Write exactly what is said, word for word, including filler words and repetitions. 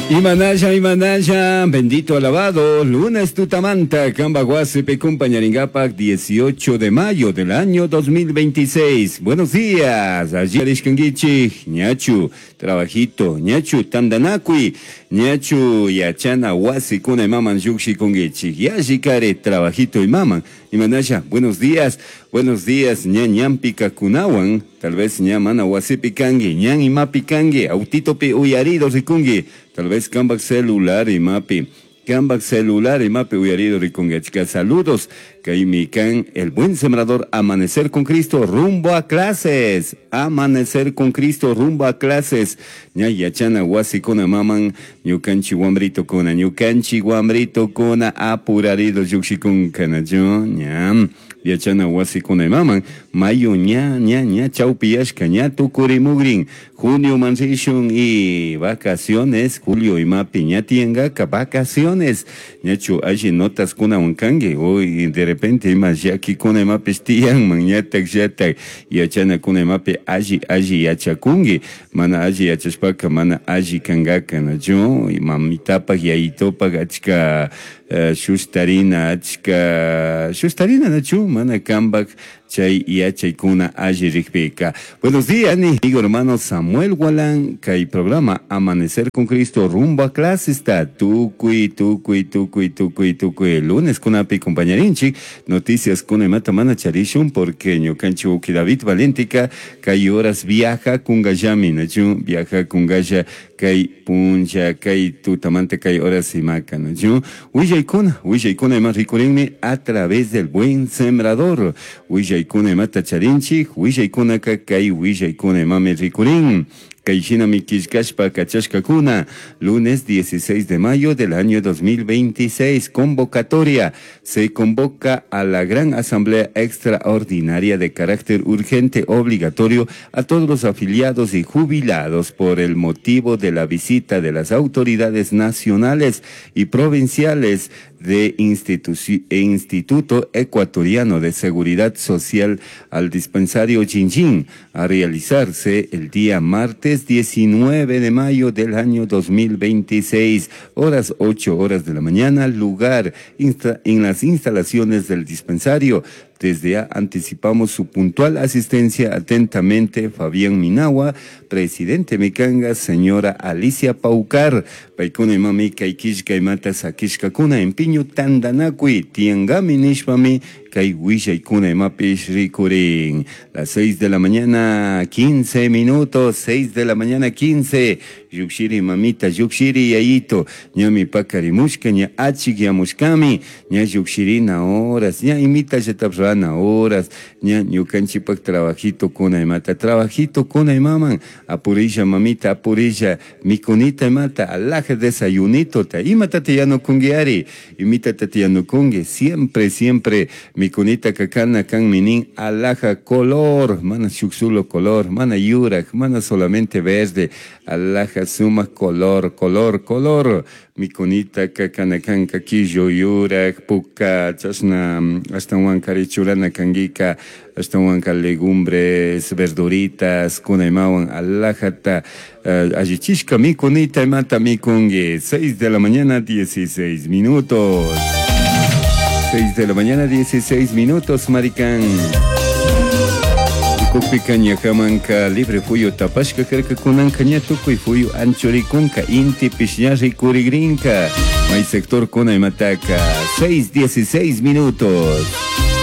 Imanalla, Imanalla, bendito alabado, lunes tutamanta, cambaj wasipi compañaringapak, dieciocho de mayo del año dos mil veintiséis. Buenos días, allí arishkanguichi, ñachu trabajito, ñachu tandanakui, ñachu yachana wasikuna imaman llukshikunguichi, yallikare trabajito imaman. Imanalla, buenos días, buenos días, ña ñanpi kunawan, tal vez ña mana wasipi kangi, ñan imapi kangi, autitopi uyarido rikungi, tal vez cambaj celular imapi, cambaj celular imapi uyarido rikungi. Achka saludos, kaymi kan El Buen Sembrador, Amanecer con Cristo, rumbo a clases, Amanecer con Cristo, rumbo a clases, ña yachana wasikuna imaman, ñukanchi wambritokuna, ñukanchi wambritokuna apurarido llukshikunkanachu, ña yachana wasikuna imaman, mayo ña, ña, ña chawpiyashka, ña tukurimugrin, junio man rishun y vacaciones, julio imapi ña tiyangaka vacaciones, ñachu alli notas kunawan kanki, hoy de repente ima llakikuna imapish tiyanman, ñatak llatak yachana kuna imapi alli alli yachakunki, mana alli yachashpaka mana alli kankaka, nachu, mamitapaj yayitopaj achka uh, shustarina, achka shustarina, nachu, mana kambaj chay yachaykuna alli rikpika. Buenos días, amigo hermano Samuel Gualán, kay programa Amanecer con Cristo rumbo a clases ta tukuy tukuy tukuy tukuy tukuy lunes kunapi compañerinchik, noticias kuna imata mana charishun porque ñukanchik wawki David Valentica kay horas viaja kungallami, nachu, viaja kungalla kay puncha kay tutamanta kay horas imaka, nachu. Willaykuna, willaykuna ima rikurinmi a través del Buen Sembrador. Willaykuna imata charinchik, willaykunaka kay willaykuna imami rikurin. Kay shinami killkashpa kachashkakuna, lunes dieciséis de mayo del año dos mil veintiséis, convocatoria. Se convoca a la Gran Asamblea Extraordinaria de carácter urgente obligatorio a todos los afiliados y jubilados por el motivo de la visita de las autoridades nacionales y provinciales de Instituto Ecuatoriano de Seguridad Social al dispensario Chinchín, a realizarse el día martes diecinueve de mayo del año dos mil veintiséis, horas ocho horas de la mañana, lugar en las instalaciones del dispensario. Desde ya anticipamos su puntual asistencia. Atentamente, Fabián Minagua, presidente mikanga, señora Alicia Paucar. Paykuna imami kay killka imata sakishkakuna, empiño tandanakuy tiangami nishpami kay willaykuna imapish rikurin. Las seis de la mañana, quince minutos, seis de la mañana, quince. Llukshiri mamita, llukshiri yayito, ñami pakarimushka, ña achikyamushkami, ña llukshirina horas, ña imita rana horas, ña ñukanchipak trabajito kuna imata, trabajito kuna imaman, apurilla mamita, apurilla, mikunita imata, alaja desayunito, ta, imata te yanukungi imita te yanukungi, siempre, siempre, mikunita kakana kan minin, alaja color, mana shuk solo color, mana yurak, mana solamente verde, alaja suma color, color, color, mikunita kakana kanka killo yurak, puka, chashna, ashtawankari churana kankika, ashtawanka legumbres, verduritas, kuna imawan, alajata, uh, allichishka mikunita imata mikungi. seis de la mañana, dieciséis minutos. seis de la mañana, dieciséis minutos, maricán. Ukupika ñakamanka libre fuyu tapashka karka, kunanka ña tukuy fuyu anchurikunka, intipish ña rikurigrinka. May sector kuna imataka, seis dieciséis minutos.